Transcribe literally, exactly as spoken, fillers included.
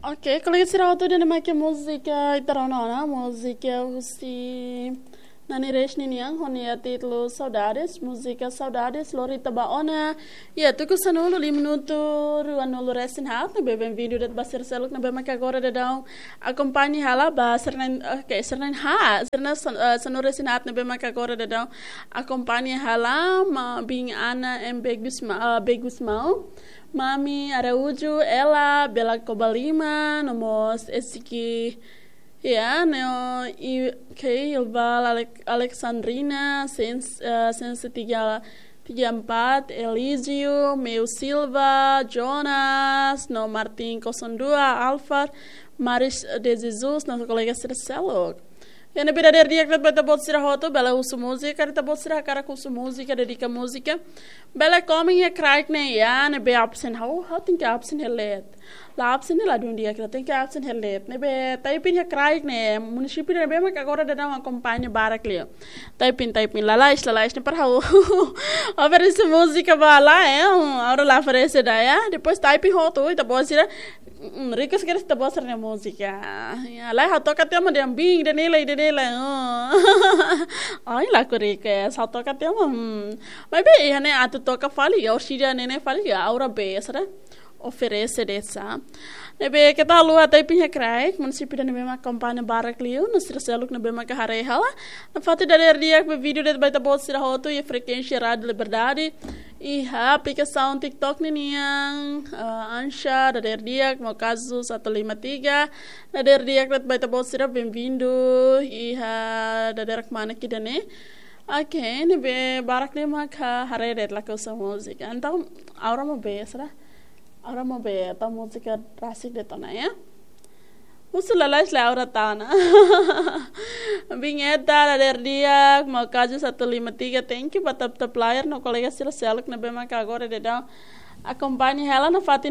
Ok, kolega sira hotu, ida-ne'e mak múzika ita rona ona, múzika husi Nani Reis ninian, ho nia títulu Saudades, múzika Saudades, lori ita ba ona. Ya, tuku sanulu, lima minutu, ruanulu resin haat, ne'ebé benvindu de'it ba sira seluk ne'ebé mak agora daudaun akompaña hela ba sira na'in, ok, sira na'in haat, sira na'in san-, eh, sanulu resin haat ne'ebé mak agora daudaun akompaña hela, maun Ana M B Gusma-, eh, B Gusmão, Mami Araújo, Ela, Bela Cobalima, no mós Esiki, ya, Neo, i, ke, Ilval, Alec-, Alexandrina, Sens-, eh, Sense tiga, tiga empat, Elísio, Meu Silva, Jonas, no Martin kosong dua, Alfar, Maris de Jesus, no kolega sira seluk. Ya, ne'ebé dadeer di'ak de'it ba ita-boot sira hotu, bele husu múzika, karik ita-boot sira hakarak husu múzika, dedika múzika. Bele komen iha kraik ne'e, ya, ne'ebé absen, ha'u, ha'u tenke absen hela de'it. La absen ne'e ladún di'ak, ita tenke absen hela de'it. Ne'ebé typing iha kraik ne'e, munisípiu ne'ebé mak agora daudaun akompaña barak liu. Typing, typing, lalais, lalais, ne'e para ha'u oferese múzika ba lae, eh, agora la oferese ida, ya. Depois typing hotu, ita-boot sira, mm, request kedas ita-boot sira-nia múzika. Ya, lae, ha'u toka tiha mak dehan bing, ida-ne'e lae, ida-ne'e lae. Oh. Ai, laku request, ha'u toka tiha mak, hmm. Maibé, iha ne'e atu toka fali, ya, orsida ne'e ne'e fali, ya, agora be, sira oferese de'it sa. Ne'ebé keta haluha typing iha kraik, munisípiu ida ne'ebé mak akompaña barak liu, no sira seluk ne'ebé mak haree hela. Nafatin dadeer di'ak ba vídeo de'it ba ita-boot sira hotu, iha frekuénsia Rádio Liberdade. Iha aplikasaun TikTok ninian, eh, Ancha, dadeer di'ak, Meu Caso satu lima tiga. Dadeer di'ak de'it ba ita-boot sira, benvindu. Iha dadeer kmana ida-ne'e. Ok, ne'ebé barak ne'e mak haree de'it lakosa múzika. Entaun, agora mak be, sira. Agora mak be, entaun múzika rasik de'it ona, ya. Husu lalais lae, agora tau ona. Bing Eta, dadeer di'ak, Meu Caso satu lima tiga, thank you ba TapTap Player, no kolega sira seluk ne'ebé mak agora daudaun akompaña hela. Nafatin